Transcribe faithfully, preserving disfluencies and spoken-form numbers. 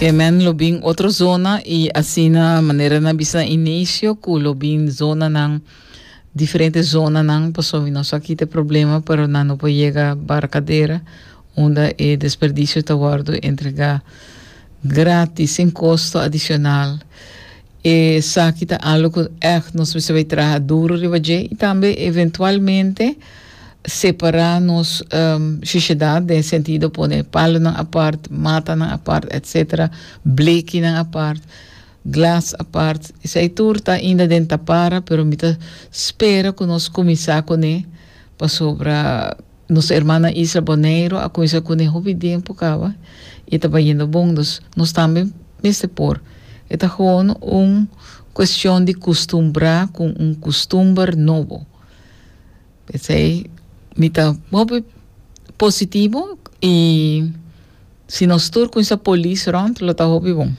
Ke men lo bin otro zona i asina manera nan bisa na inicio ku lo bin zonanan, diferente zonanan, pasobra mi no sa kita e problema, pero nan no por yega Barcadera unda e desperdicio ta wordo entrega gratis sin costo adicional. Esaki ta algo ku echt nos mester bai traha duro riba dje i tambe eventualmente separa nos shushedat den sentido pone palonan apart, matanan apart, etcetera, blekinan apart, glas apart. Esei tur ta ainda den tapara, pero mi ta spera ku nos kuminsá kuné pasobra nos hermana isla Boneiru a kuminsá kuné hopi tempu kaba i ta bayendo bon. Dus nos tambe mester por. E ta gewoon un kuestion di kustumbrá ku un kustumber nobo. P'esei mi ta hopi positivo i si nos tur kuminsá polis rònt lo ta hopi bon.